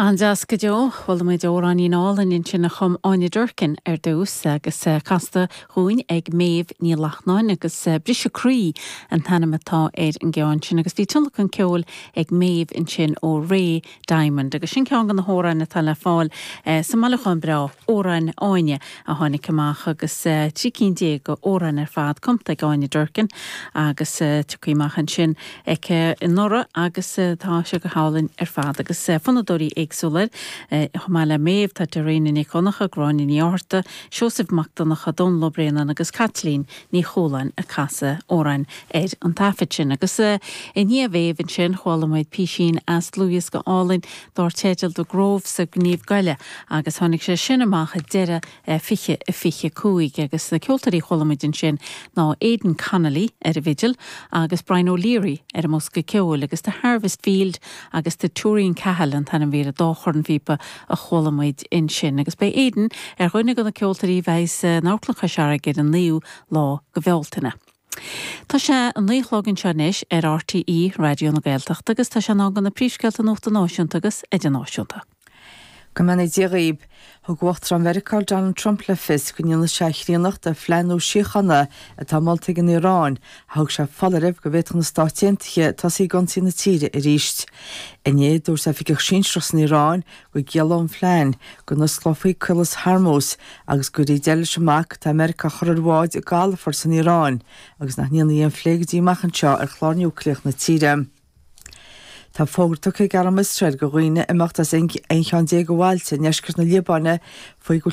An-deas go deo. Chuala muid amhráinín álainn ansin a chum Áine Durkin ar dtús agus casta dhúinn ag Méabh Ní Lachtnáin agus Briseadh Croí an t-ainm atá ar an gceann sin agus bhí tionlacan ceoil ag Méabh ansin ó Ray Diamond agus sin ceann de na hamhráin atá le fáil sa mbailiúchán breá Amhráin Áine a tháinig amach agus 13 cinn d'amhráin ar fad cumtha ag Áine Durkin agus tiocfaidh amach ansin aici anuraidh agus tá sé go hálainn ar fad agus fonnadóirí éagsúla air chomh maith le Méabh, tá Dairena Nic Dhonncha, Gráinne Ní Fhátharta, Seosamh Mac Donncha, Dónal Ó Braonáin agus Caitlín Ní Chualáin ag casadh amhráin ar an taifead sin. Agus i ndiaidh Mhéabh ansin chuala muid písín as dlúthdhiosca álainn dár teideal The Groves of Gneeveguilla agus tháinig sé sin amach ag deireadh 2025 agus na ceoltóirí a chuala muid ansin ná Aidan Connolly ar an bhfidil agus Brian O'Leary ar an mbosca ceoil agus The Harvest Field agus The Tooreen Cahill an t-ainm a bhí ar an dá chornphíopa a chuala muid ansin agus beidh Aidan ar dhuine de na ceoltóirí a bheidh in Amharclann Chois Fharraige ar an naoú lá de Bhealtaine. Tá sé a naoi a chlog anseo anois ar RTÉ Raidió na Gaeltachta agus tá sé in am do na príomhscéalta nuachta náisiúnta agus idirnáisiúnta. Go mbeannaí Dia dhaoib. Thug Uachtarán Mheiriceá Donald Trump le fios go ndéanfaidh sé a chríonnacht de phlean nua síochána atá molta ag an Iaráin ach thug sé foláireamh go bhféadfadh na Stáit Aontaithe tosaí ag ionsaí na tíre arís. Inné, dúirt oifigeach sinsearach san Iaráin go gciallódh an phlean go n-osclófaí Caolas Hormuz agus go gcuirfí deireadh leis an mbac atá Meiriceá a chur ar bháid i gcalafort san Iaráin agus nach ndéanfaí aon phlé go dtí amach anseo ar chlár núicléach na tíre. Tá fógra tugtha ag arm Iosrael do dhaoine imeacht as aon cheann déag de bhailte i ndeisceart na Liobáine faoi go bhfuil.